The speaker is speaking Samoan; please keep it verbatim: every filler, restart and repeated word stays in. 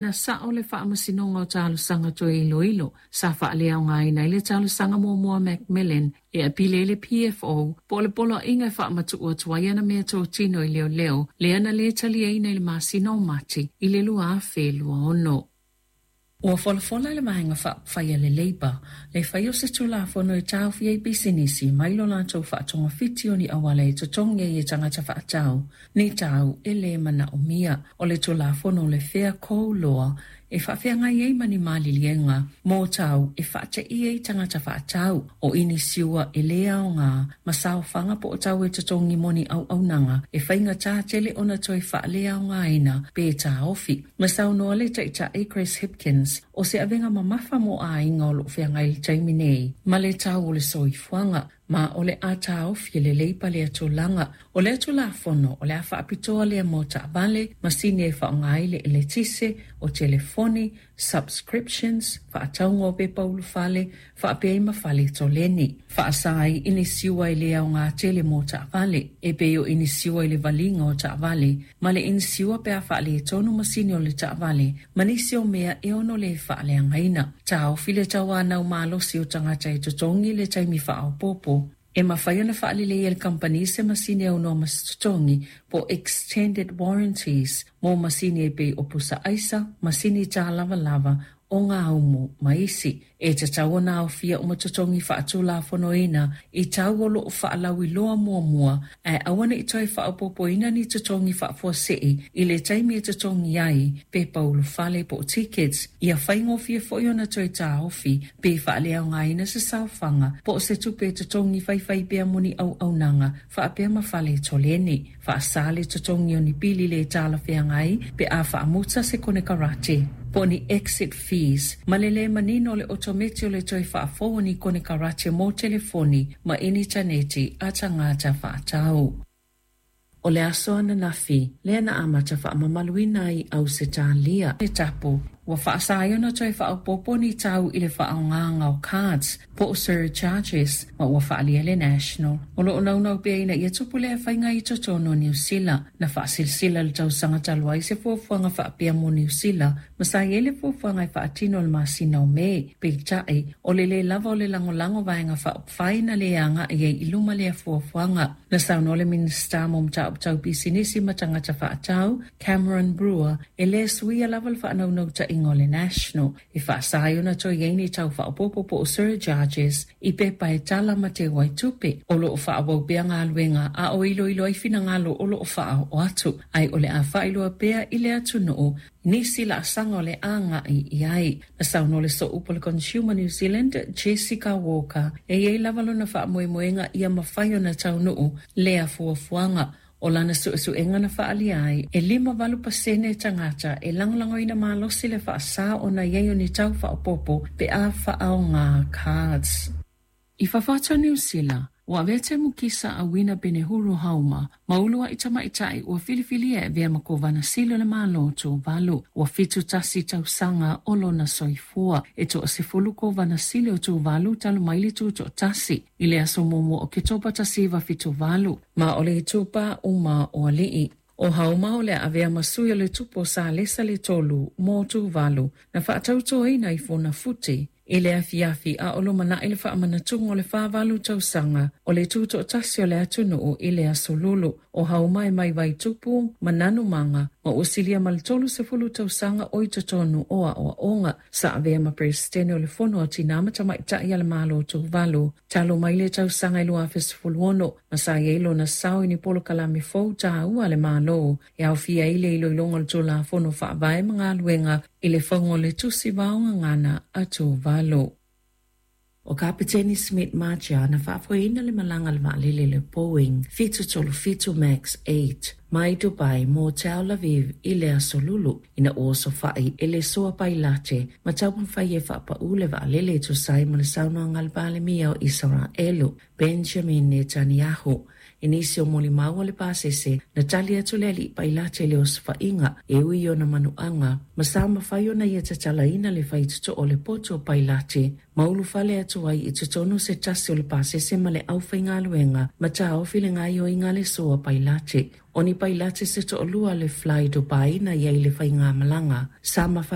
Na sa'o le Faamasinoga o Talosaga Toe Iloilo sa faaleaogaina ai le talosaga muamua a McMillan e apili ai le P F O po o le poloaiga e faamatu'u atu ai ana meatotino i leoleo lea na lē taliaina i le masina o Mati i le lua afe lua ono. Ua folafola le Vaega Faaupufai a le Labour le fai o se tulafono e taofia ai pisinisi mai lo latou faatogafiti o ni auala e totogi ai e tagata faatau ni tau e lē manaomia. O le tulafono le Fair Co Law e faafeagai ai ma ni maliliega mo tau e faateia ai tagata faatau o inisiua e lē aogā ma saofaga po o tau e totogi mo ni auaunaga e faigata tele ona toe faaleaogaina pe taofi. Ma saunoa le Taita'i Chris Hipkins o se avega mamafa mo aiga o loo feagai le taimi nei ma le tau o le soifuaga ma o le a taofi e le Labour lea tulaga. O lea tulafono o le a faapitoa lea mo taavale, masini e faaaoga ai le eletise, o telefoni, subscriptions, faatauga o pepa ulufale, faapea ai ma fale toleni. Faasa ai inisiua e lē aogā tele mo taavale, e pei o inisiua i le valiga o taavale, ma le inisiua pe a faaletonu masini o le taavale, ma nisi o mea e ono lē faaleagaina. Taofi le tauanau malosi o tagata e totogi le taimi faaopoopo e mafai ona faalelei e le kamupani se masini aunoa ma se totogi po extended warranties mo masini e pei o pusa aisa, masini tālavalava o gaumu ma isi. E tatau ona aofia uma totogi faatulafonoina i tau o loo faalauiloa muamua ae aua neʻi toe faaopoopoina ni totogi faafuasei i le taimi e totogi ai pepa ulufale po o tickets. Ia faigofie foi ona toe taofi pe faaleaogaina se saofaga po o se tupe e totogi faifai pea mo ni auaunaga faapea ma fale toleni. Faasa le totogi o ni pili le talafeagai pe a faamuta se konekarate po o ni exit fees ma le lē manino o le otometi o le toe faafou o ni konekarate mo telefoni ma initaneti a tagata faatau. O le aso ananafi lea na amata faamamaluina ai Ausetalia le tapu ua faasa ai ona toe faaopoopo ni tau i le faaaogaga o cards po o surcharges ma ua faaalia le National o loo naunau pea ina ia tupu lea faiga i totonu o Niusila. Na faasilasila le tausaga talu ai se fuafuaga faapea mo Niusila ma sa i ai le fuafuaga e faatino le masina o Me. Peitai o le lē lava o le lagolago vaega faaupufai na lē agaʻi ai i luma lea fuafuaga. Na saunoa le Minisita mo Mataupu Tau Pisinisi ma Tagata Faatau Cameron Brewer e lē suia lava le faanaunautaiga o le National e faasa ai ona toe iai ni tau faaopoopo po o surcharges i pepa e tala ma teu ai tupe. O loo faaauau pea galuega a o iloilo ai finagalo o loo faaoo atu ae o le a faailoa pea i le atunuu nisi laasaga o le agaʻi i ai. Na saunoa le sooupu o le Consumer New Zealand Jessica Walker e iai lava lona faamoemoega ia mafai ona taunuu lea fuafuaga. O lana suesuega na faaalia ai e lima valu pasene tagata e lagolagoina malosi le faasā ona iai o ni tau faaopoopo pe a faaaogā cards. I fafo atu o Niu Sila, ua avea Temukisa Auina Penehuro Hauma ma uluaʻi tamaʻitaʻi ua filifilia e avea ma Kovana Sili o le Malo o Tuvalu. Ua fitu tasi tausaga o lona soifua. E toasefulu Kovana Sili o Tuvalu talu mai le tutoatasi i le aso muamua o Ketopa tasi iva fitu valu, ma o le itupa uma o alii. O Hauma o le avea ma sui o le tupu o Salesa le Tolu mo Tuvalu na faatautoina i Funafuti i le afiafi a o lumanaʻi le faamanatuga o le fāvalu tausaga o le tutoatasi o le atunuu i le aso Lulu. O Hauma e mai Vaitupu ma Nanumaga ma ua silia ma le tolu sefulu tausaga o i totonu o aoaoga. Sa avea ma Peresetene o le Fono a Tinā ma Tamaitaʻi a le Malo o Tuvalu talu mai le tausaga i lua afe sefulu ono ma sa iai lona sao i ni polokalame fou tāua a le Malo e aofia ai le iloiloga o le Tulafono Faavae ma galuega i le fauga o le Tusi Vaogagana a Tuvalu. O Kapiteni Smit Maja na faafoeina le malaga le vaalele le Boeing seven thirty-seven MAX eight mai Dubai mo Tel Aviv i le aso Lulu ina ua osofaʻi e le soa pailate ma taumafai e faapaʻu le vaalele e tusa ai ma le saunoaga a le Palemia o Isaraelu Benjamin Netanyahu. I nisi o molimau a le pasese, na tali atu le alii pailate i le osofaiga e ui i ona manuaga ma sa mafai ona ia tatalaina le faitotoa o le potu o pailate ma ulufale atu ai i totonu se tasi o le pasese ma le aufaigaluega ma taofi le gaoioiga a le sua pailate. O ni pailate se toalua a le Fly Dubai na i ai i le faigamalaga sa mafai